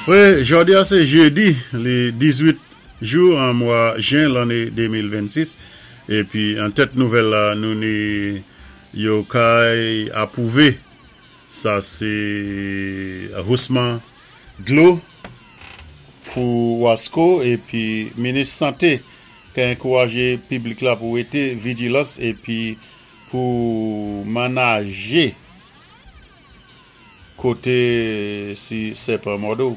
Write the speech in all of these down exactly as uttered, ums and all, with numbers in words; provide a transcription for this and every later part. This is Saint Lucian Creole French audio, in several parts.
Wi, jòdi-a sé jédi, lé diz-wit jou an mwa jen lanné de mil vennsis. Épi an tèt nouvèl la, nou ni yo kay apwouvé. Sa sé hosman dlo pou Wasco épi minis santé ki ankourajé piblik la pou wété vijilans épi pou manajé koté si sèpan mòdé.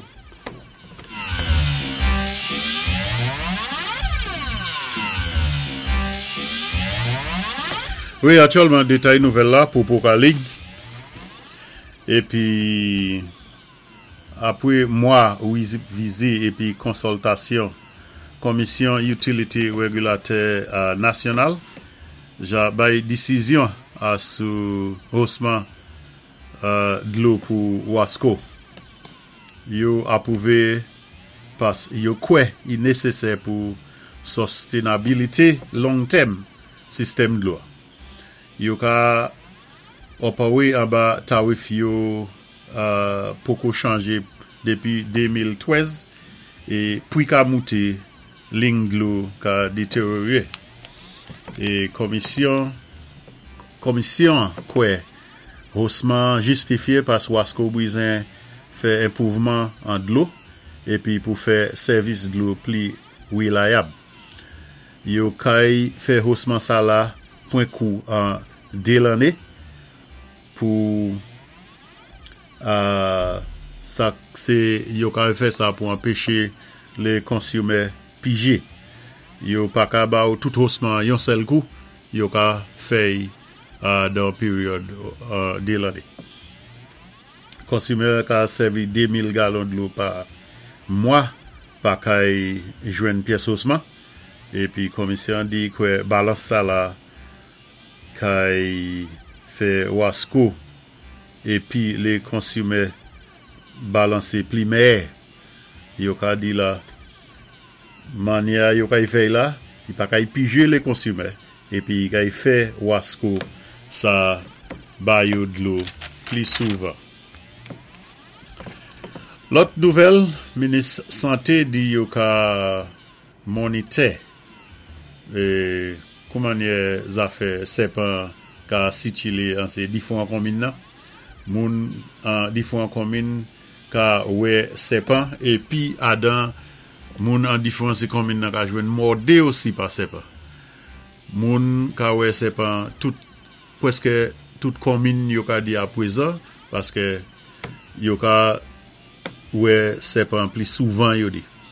Wi, aktyèlman, détay nouvèl la pou pou kali. Épi, apwé mwa vizi épi konsòltasyon, Komisyon Utility Régulatè Nasyonal ja bay désizyon a sou hosman dlo pou Wasco. Yo apwouvé pas yo kwè i nésésè pou sostenabilité long tèm sistèm dlo. Yo ka opéwé anba tarif yo poko chanjé dépi de mil twèz é pri ka mouté, liy dlo ka détéryoré. É komisyon komisyon kwè hosman jistifié pas Wasco bizwen fè enpwouvman an dlo épi pou fè sèvis dlo pli wilayab. Yo kay fè hosman sa la pwen kou an dé lanné pou sa sé yo ka fè sa pou anpéché lé konsimè pijé. Yo pa ka ba ou tout hosman yon sèl kou, yo ka fè'y dan péryòd dé lanné. Konsimè ka sèvi de mil galon dlo pa mwa pa kay jwenn pyès hosman. Épi komisyon di kwè balans sa la kay fè Wasco épi lé konsimè balansé pli mèyè. Yo ka di la mannyè yo kay fè la, i pa kay pijé lé konsimè épi kay fè Wasco sa ba yo dlo pli souvan. Lòt nouvèl, minis santé di yo ka monitè é koumannyè zafè sèpan ka sikilé an sé difwan konmin nan. Moun an difwan konmin ka wè sèpan épi adan moun an difwan sé konmin nan ka jwenn mòdé osi pa sèpan. Moun ka wè sèpan tout pwèskè tout konmin yo ka di apwézan paské yo ka wè sèpan pli souvan yo di.